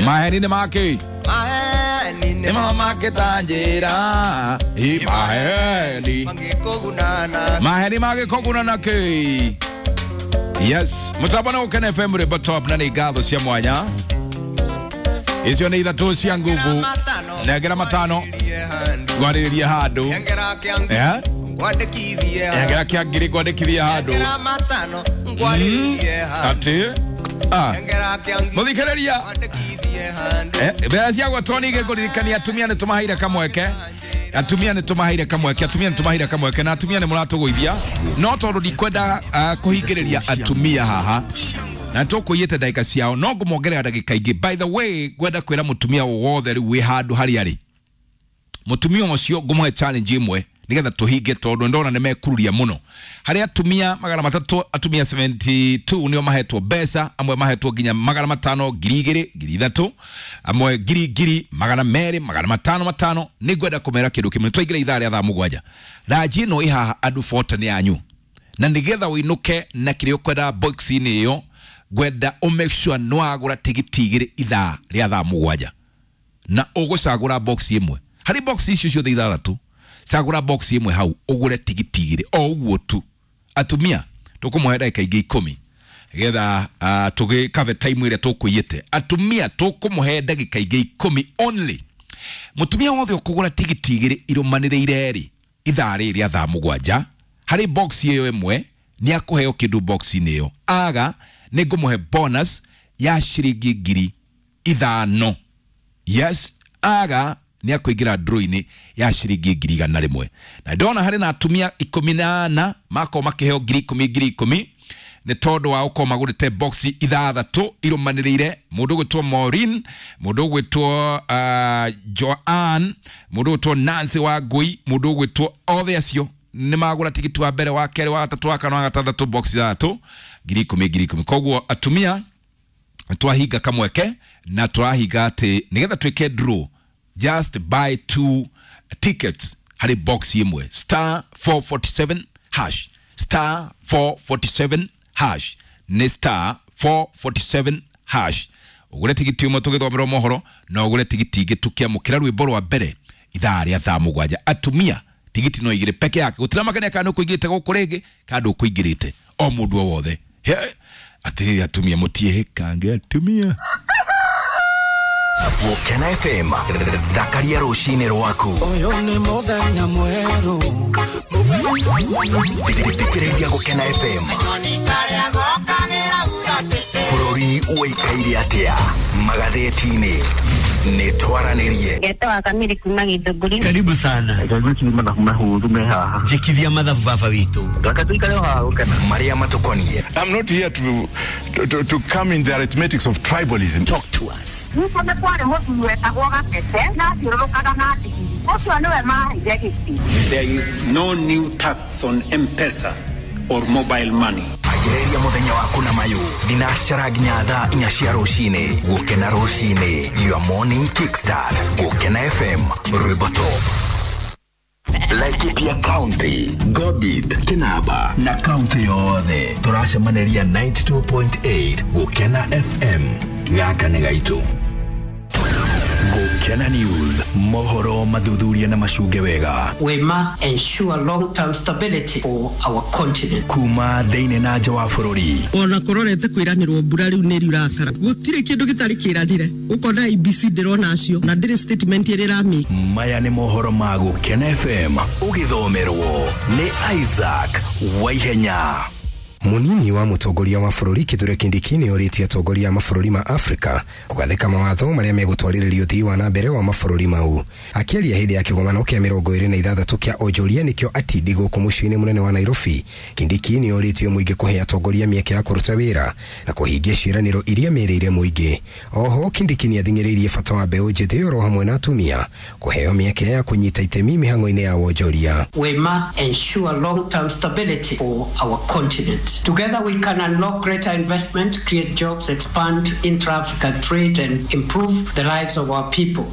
Maheni nĩ makĩ? Maheni. Nĩ makĩtanjĩra. Maheni. Mangĩkũgunana. Maheni magĩkũguna kĩ? Yes, mũtambo nĩ Gũkena FM, rwĩmbo top, na nĩ ngatho cia mwanya. Icio nĩ ithatũ cia nguvu. Nengera matano ngwarĩrĩrie handũ. Nengera kĩa Eh? ngwandĩkithie. Nengera kĩa ngiri ngwandĩkithie handũ. Nengera matano ngwarĩrĩrie handũ. Atĩ ah. Nengera kĩa ngiri Mũthikĩrĩria. ngwandĩkithie handũ. Mbeca cia gwatwo ningĩ ngũririkania atumia nĩ tũmaheire kamweke, atumia nĩ tũmaheire kamweke, atumia nĩ tũmaheire kamweke, na atumia nĩ mũratũgũithia, no tondũ ndikwenda kũhingĩrĩria atumia haha na tũkũiyĩte ndagĩka ciao, no ngũmongerera ndagĩka ingĩ. By the way, ngwenda kwĩra mũtumia wothe rĩu wĩ handũ harĩa arĩ, mũtumia ũcio ngũmũhe challenge ĩmwe nigetha tũhinge, tondũ ndona nĩ mekururia mũno. Harĩ atumia 300, atumia 72 nĩo mahetwo mbeca, amwe mahetwo nginya 500, 2,000, 3,000, amwe ngiri ngiri, 200, 500 matano. Nĩ ngwenda kũmera kĩndũ kĩmwe. Twaingĩra ithaa rĩa thaa 7, ranji ĩno ĩ haha andũ 40 nĩ yanyu, na nĩgetha ũinũke na kĩrĩa ũkwenda box-inĩ ĩyo, ngwenda ũ make sure nĩ wagũra tigiti igĩrĩ ithaa rĩa thaa 7, na ũgũcagũra box ĩmwe harĩ box icio ciothe ithathatũ. Cagũra box ĩmwe hau, ũgũre tigiti igĩrĩ, o ũguo tu. Atumia tũkũmũhe ndagĩka ingĩ 10 getha tũgĩkave time ĩrĩa tũkũiyĩte. Atumia tũkũmũhe ndagĩka ingĩ 10 only. Mũtumia wothe ũkũgũra tigiti igĩrĩ irũmanĩrĩire rĩ ithaa rĩrĩ rĩa thaa 7 harĩ box ĩyo ĩmwe, nĩ akũheo kĩndũ box-inĩ ĩyo. Aga nĩ ngũmũhe bonus ya ciringi 5,000. Yes, aga nĩ akũingĩra draw-inĩ ya ciringi 100,000. Na ndona harĩ na atumia 14 makorwo makĩheo 10,000, 10,000, nĩ tondũ wa gũkorwo magũrĩte box ithathatũ irũmanĩrĩire. Mũndũ ũgwĩtwo Maureen, mũndũ ũgwĩtwo Joanne, mũndũ ũgwĩtwo Nancy wa Ngui, mũndũ ũgwĩtwo, othe acio nĩ magũra tigiti wa mbere, wa kerĩ, wa gatatũ, wa kana, wa gatandatũ, box ithathatũ, 10,000, 10,000. Koguo atumia twahinga kamweke na tũrahinga atĩ nĩgetha twĩke draw, just buy two tickets harĩ box ĩmwe, star 447 hash, star 447 hash, nĩ star 447 hash. Ũgũre tigiti ũmwe tũgĩthomerwo mohoro, na ũgũre tigiti ingĩ tũkĩamũkĩra rwĩmbo rwa mbere ithaa rĩa thaa 7. Atumia tigiti no igĩrĩ peke yake, gũtiramakania kana nĩ ũkũingĩrĩte gũkũ rĩngĩ kana ndũkũingĩrĩte, o mũndũ o wothe. He, atĩrĩrĩ atumia, mũtiĩhĩkange atumia. Gũkena FM, thakaria rũcinĩ rwaku. Ũyũ nĩ mũthenya mwerũ. Thikĩrĩria Gũkena FM. Bũrũri ũikaire atĩa magathĩti-inĩ? Nĩ twaranĩrie. Ngetwa Kamiri kuma Githũngũri. Karibu sana. Mathabu mahũthũ me haha. Njĩkithia mathabu baba witũ. Reke tũikare o haha gũkena. Marĩa matũkoniĩ. I'm not here to come in the arithmetics of tribalism. Talk to us. Gwitũ nĩ kwarĩ mũthuri wetagwo Gatete na athiũrũrũkaga na ndigiri. Ũcio nĩwe maheire gĩtĩ. There is no new tax on M-Pesa or mobile money. Ambĩrĩria mũthenya waku na mayũ thinacara nginya thaa 4 cia rũcinĩ. Gũkena rũcinĩ, your morning kickstart. Gũkena FM, rwĩmbo top. Laikipia County, Gobit, Kinaba na kaunti yothe tũracemanĩria 92.8 Gũkena FM. Gaka nĩ gaitũ. Gũkena News, mohoro mathuthuria na macunge wega. We must ensure long-term stability for our continent. Kuma thĩinĩ na nja wa bũrũri. Ona kũrorete kwĩranĩrwo mbura rĩu nĩ riurakara, gũtirĩ kĩndũ gĩtarĩ kĩranĩre, ũkona IBC ndĩrona acio na ndĩrĩ statement ĩrĩa ĩramĩka. Maya nĩ mohoro ma Gũkena FM, ũgĩthomerwo nĩ Isaac Waihenya. Munini wa mũtongoria wa bũrũri Kithure Kindiki nĩ orĩtie atongoria a mabũrũri ma Afrika kũgathĩka mawatho marĩa megũtwarĩrĩria ũthii wa na mbere wa mabũrũri mau. Akĩaria hĩndĩ ya kĩgomano kĩa 26 kĩa onjoria nĩkĩo atindi gũkũ mũciĩ-inĩ mũnene wa Nairobi, Kindiki nĩ orĩtie mũingĩ kũhe atongoria mĩeke ya kũruta wĩra na kũhingia ciĩranĩro iria merĩire mũingĩ. Oho Kindiki nĩ athing'ĩrĩirie bata wa mbeũ njĩthĩ oro hamwe na atumia kũheo mĩeke ya kũnyita itemi mĩhang'o-inĩ ya wonjoria. We must ensure long-term stability for our continent. Together we can unlock greater investment, create jobs, expand intra-African trade and improve the lives of our people.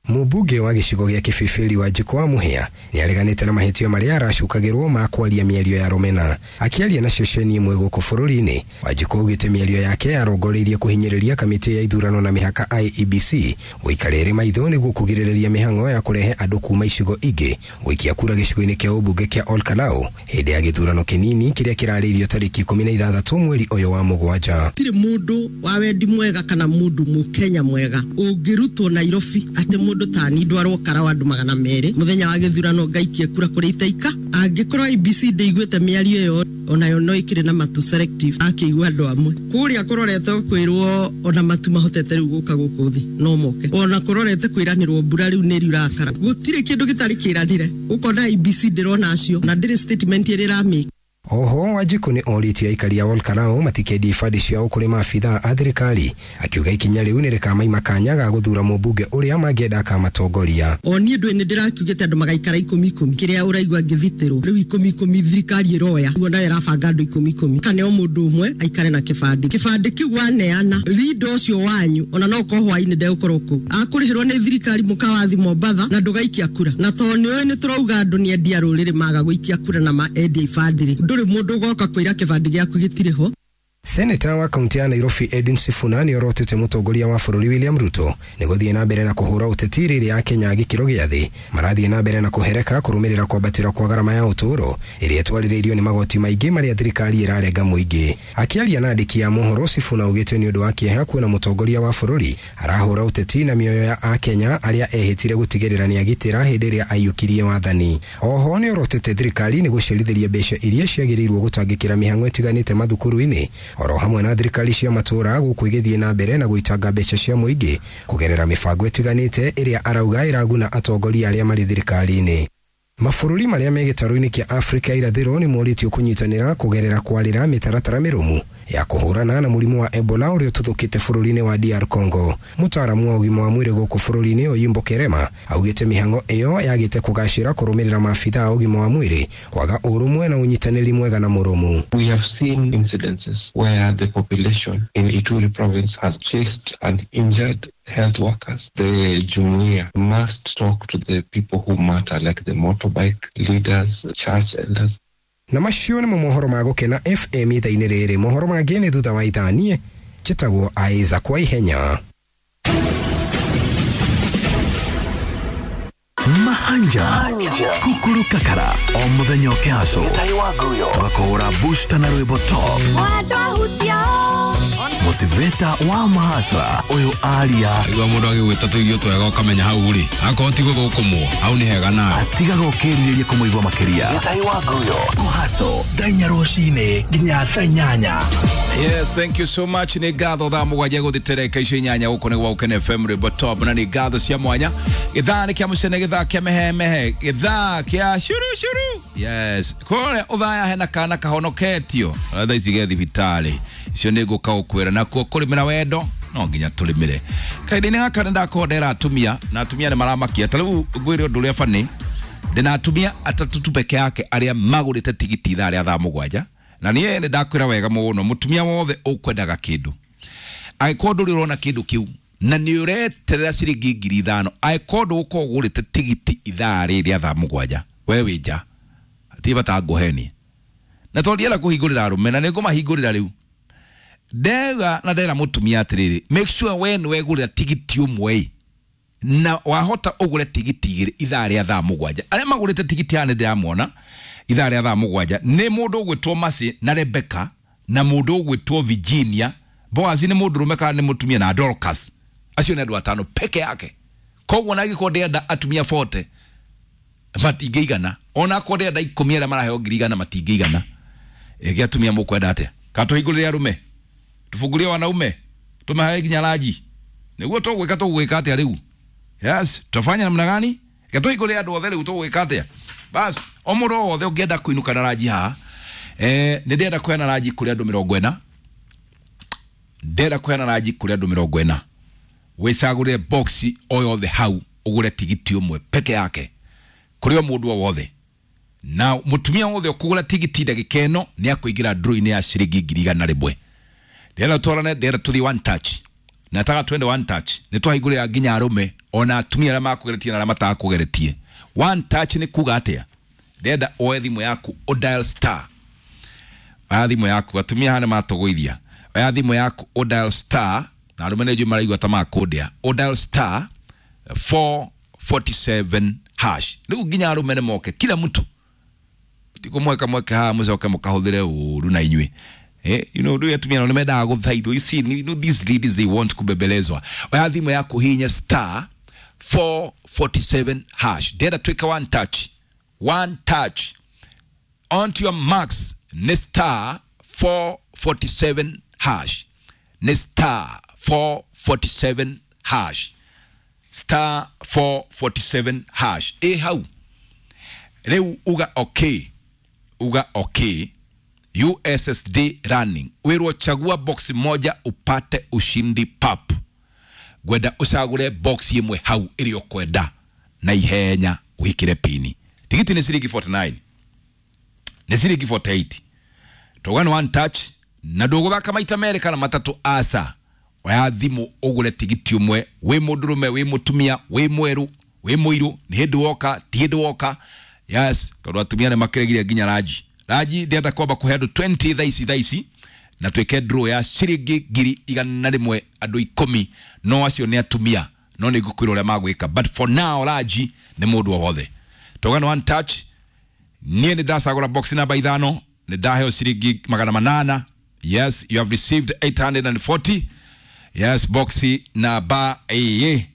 Mũmbunge wa gĩcigo gĩa Kĩbĩbĩri Wanjikũ wa Mũhĩa nĩ areganĩte na mahĩtio marĩa aracukagĩrwo ma kwaria mĩario ya rũmena. Akĩaria na ceceni ĩmwe gũkũ bũrũri-inĩ, Wanjikũ augĩte mĩario yake yarongoreirie kũhinyĩrĩria kamĩtĩ ya ithurano na mĩhaka IEBC gũikara ĩrĩ maitho nĩguo kũgirĩrĩria mĩhang'o ya kũrehe andũ kuma icigo ingĩ gũikia kura gĩcigo-inĩ kĩa ũmbunge kĩa Olkalau hĩndĩ ya gĩthurano kĩnini kĩrĩa kĩrarĩirio tarĩki 16 mweri ũyũ wa mũgwanja. Gũtirĩ mũndũ wa wendi mwega kana mũndũ mũkenya mwega ũngĩrutwo Nairobi atĩ mũndũ tani ndwarwo karawa andũ 200 mũthenya wa gĩthurano ngaikie kura kũrĩa itaika. Angĩkorwo IEBC ndĩiguĩte mĩario ĩyo onayo no ĩkĩrĩ na matu selective akĩigua andũ amwe kũrĩa kũrorete kwĩrwo ona matu mahotete rĩu gũka gũkũ thĩ no moke, ona kũrorete kwĩranĩrwo mbura rĩu nĩ riurakara. Gũtirĩ kĩndũ gĩtarĩ kĩranĩre, ũkona IEBC ndĩrona acio na ndĩrĩ statement ĩrĩa ĩramĩka. Oho Wanjikũ nĩ orĩtie aikari a Olkalau matikendie ibandĩ ciao kũrĩ maabithaa a thirikari, akiuga ikinya rĩu nĩ rĩkamaima kanya ga gũthuura mũmbunge ũrĩa mangĩenda akamatongoria. O niĩ ndũĩ nĩ ndĩrakiugĩte andũ magaikara 10 10 kĩrĩa ũraigua ngĩthitĩrwo rĩu 10 10 thirikari ĩroya guo nayo ĩrabanga andũ 10 10 kana o mũndũ ũmwe aikare na kĩbandĩ. Kĩbandĩ kĩu waneana rindo ũcio wanyu ona no ũkorwo hwainĩ ndegũkorwo kũu akũrĩhĩrwo nĩ thirikari mũkawathi Mombatha na ndũgaikia kura, na tondũ nĩũĩ nĩ tũrauga andũ nĩ endia rũrĩrĩ maga gũikia kura na endia ibandĩ rĩ, ndũrĩ mũndũ ũgoka kwĩra kĩbandĩ gĩaku gĩtirĩ ho. Seneta wa kaunti ya Nairobi Edwin Sifuna nĩ orotete mũtongoria wa bũrũri William Ruto nĩ gũthiĩ na mbere na kũhũra ũteti rĩrĩa Akenya a gĩkĩro gĩa thĩ marathiĩ na mbere na kũhereka kũrũmĩrĩra kwambatĩra kwa garama ya ũtũũro ĩrĩa ĩtwarĩrĩirio nĩ magoti maingĩ marĩa thirikari ĩrarenga mũingĩ. Akĩaria na andĩki a mohoro, Sifuna augĩte nĩ ũndũ wa kĩeha kuona mũtongoria wa bũrũri arahũra ũteti na mĩoyo ya Akenya arĩa ehĩtire gũtigĩrĩra nĩ agitĩra hĩndĩ ĩrĩa aiyũkirie wathani. Oho nĩ orotete thirikari nĩ gũcerithĩria mbeca iria ciagĩrĩirwo gũtangĩkĩra mĩhang'o ĩtiganĩte mathukuru-inĩ oro hamwe na thirikari cia matũũra gũkũ igĩthiĩ na mbere na gũitanga mbeca cia mũingĩ kũgerera mĩbango ĩtiganĩte ĩrĩa arauga ĩraguna atongoria arĩa marĩ thirikari-inĩ. Mabũrũri marĩa me gĩtarũ-inĩ kĩa Afrika irathĩro nĩ morĩtio kũnyitanĩra kũgerera kwarĩra mĩtaratara mĩrũmu ya kũhũrana na mũrimũ wa Ebola ũrĩa ũtuthũkĩte bũrũri-inĩ wa DR Congo. Mũtaaramu wa ũgima wa mwĩrĩ gũkũ bũrũri-inĩ Oyimbo Kerema augĩte mĩhang'o ĩyo yagĩte kũgacĩra kũrũmĩrĩra maabithaa a ũgima wa mwĩrĩ kwaga ũrũmwe na ũnyitanĩri mwega na mũrũmu. We have seen incidences where the population in Ituri province has chased and injured health workers. The Jumuiya must talk to the people who matter, like the motorbike leaders, church elders. Na macio nĩmo mohoro ma Gũkena FM ithaa-inĩ rĩrĩ. Mohoro mangĩ nĩ thutha wa ithaa. Niĩ njĩtagwo Isaac kwa ihenya. Mahanja Kukuru Kakara o muthenya ũkĩhaco tũgakũhũra booster na rwĩmbo top motivator wa mahasra ũyũ aria igua mũndũ agĩgwĩta tũirio twega ũkamenya hau rĩ akorwo ti gũthũkũmwo hau nĩ hega nawe atigaga ũkĩrirĩria kũmũigua makĩria kũhaco thaa inya rũcinĩ nginya thaa inyanya. Yes, thank you so much. Nĩ ngatho thaa mũgwanja gũthitereka icio inyanya gũkũ nĩ gwa Gũkena FM rwĩmbo top, na nĩ ngatho cia mwanya. Gĩthaa nĩ kĩa mũcene, gĩthaa kĩa mehemehe, gĩthaa kĩa shuru shuru. Yes, kũrĩa ũthaya hena kana kahonoketio thaa ici ge thibitarĩ icio nĩ ngũka gũkwĩra nakuo kũrĩmĩra wendo no nginya tũrĩmĩre. Kahinda-inĩ gaka nĩ ndakorwo ndera atumia na atumia nĩ maramakia. Ta rĩu ngwĩre ũndũ ũrĩa bani, ndĩna atumia atatũ tu peke yake arĩa magũrĩte tigiti ithaa rĩa thaa mũgwanja, na niĩ nĩ ndakwĩra wega mũno, mũtumia wothe ũkwendaga kĩndũ angĩkorwo ndũrĩ ũrona kĩndũ kĩu na nĩ ũreterera ciringi 5,000, angĩkorwo ndũgũkorwo ũgũrĩte tigiti ithaa rĩrĩ rĩa thaa mũgwanja, we wĩ nja, hatirĩ bata ngũhenie. Na tondũ ndienda kũhingũrĩra arũme na nĩ ngũmahingũrĩra rĩu, ndega na ndera mũtumia atĩrĩrĩ, make sure we nĩ wegũrĩra tigiti ũmwe na wahota ũgũre tigiti igĩrĩ ithaa rĩa thaa mũgwanja. Arĩa magũrĩte tigiti haha nĩ ndĩramona ithaa rĩa thaa mũgwanja nĩ mũndũ ũgwĩtwo Mercy na Rebecca na mũndũ ũgwĩtwo Virginia. Boaz nĩ mũndũrũme kana nĩ mũtumia, na Dorcas. Acio nĩ andũ atano peke yake. Koguo na angĩkorwo ndĩrenda atumia 40 matingĩigana, ona akorwo ndĩrenda 10 arĩa maraheo 100,000 matingĩigana. Ĩngĩ atumia mũkwenda atĩa? Kana tũhingũrĩre arũme, tũbungurie wanaume, tũmahe nginya ranji? Nĩguo tũgwĩka tũgwĩka atĩa rĩu? Yes, tutafanya namna gani? Tũhingũrĩre andũ othe rĩu tũgwĩka atĩa? Bas, o mũndũ o wothe ũngĩenda kũinũka na ranji haha, nĩ ndĩrenda kũheana ranji kũrĩ andũ 40. Ndĩrenda kũheana ranji kũrĩ andũ 40. Wĩcagũrĩre box o yothe hau ũgũre tigiti ũmwe peke yake kũrĩ o mũndũ o wothe. Na mũtumia wothe ũkũgũra tigiti ndagĩka ĩno nĩ akũingĩra draw-inĩ ya ciringi 100,000. Ndĩrenda twarane, ndĩrenda tũthiĩ one touch. Nataka twende one touch. Nĩ twahingũrĩra nginya arũme ona atumia arĩa makũgeretie na arĩa matakũgeretie. One touch nĩ kuga atĩa? Ndĩrenda oe thimũ yaku ũ dial star. Oya thimũ yaku, atumia haha nĩ matũgũithia. Oya thimũ yaku ũ dial star, na arũme nĩ njũĩ maraigua ta makũndĩa. Ũ dial star 447 hash. Rĩu nginya arũme nĩ moke, kila mtu. Tikumweka mweke haha mũcoke mũkahũthĩre ũru na inyuĩ. You know, rĩu atumia nao nĩ mendaga gũthaithwo. You see, you know, these ladies, they want kubembelezwa. Oya thimũ yaku hinya star 447 hash. Ndĩrenda twĩke one touch. One touch. Onto your marks nĩ star 447 hash. Nĩ star 447 hash. Star 447 hash. Ĩ hau. Rĩu uga okay. Uga okay. USSD running. Wĩrwo chagua box moja upate ushindi pap. Ngwenda ũcagũre box ĩmwe hau ĩrĩa ũkwenda na ihenya wĩkĩre pini. Tigiti nĩ ciringi 49. Nĩ ciringi 48. Tauga nĩ one touch na ndũgũthaka maita merĩ kana matatũ, aca. Oya thimũ ũgũre tigiti ũmwe, wĩ mũndũrũme, wĩ mũtumia, wĩ mwerũ, wĩ mũirũ, nĩ hĩndĩ woka, ti hĩndĩ woka. Yes, tondũ atumia nĩ makĩregire nginya ranji. Ranji ndĩrenda kwamba kũhe andũ 20 thaa ici na twĩke draw ya ciringi 100,000 andũ 10, no acio nĩ atumia, no nĩ ngũkwĩra ũrĩa magwĩka, but for now ranji nĩ mũndũ o wothe. Tauga nĩ one touch. Niĩ nĩ ndacagũra box namba 5, nĩ ndaheo ciringi 800. Yes, you have received 840. Yes, box namba 5.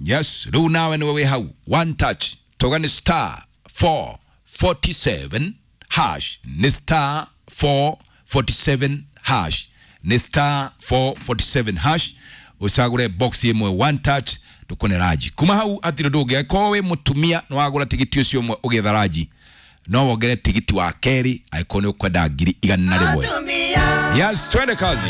Yes, rĩu nawe nĩwe wĩ hau. One touch. Tauga nĩ star 447 hash. Nĩ star 447 hash. Nĩ star 447 hash. Ũcagũre box ĩmwe one touch ndũkone ranji. Kuma hau hatirĩ ũndũ ũngĩ. Angĩkorwo wĩ mũtumia nĩ wagũra tigiti ũcio ũmwe ũgĩetha ranji, no wongere tigiti wa kerĩ angĩkorwo nĩ ũkwenda 100,000. Yes, twende kazi.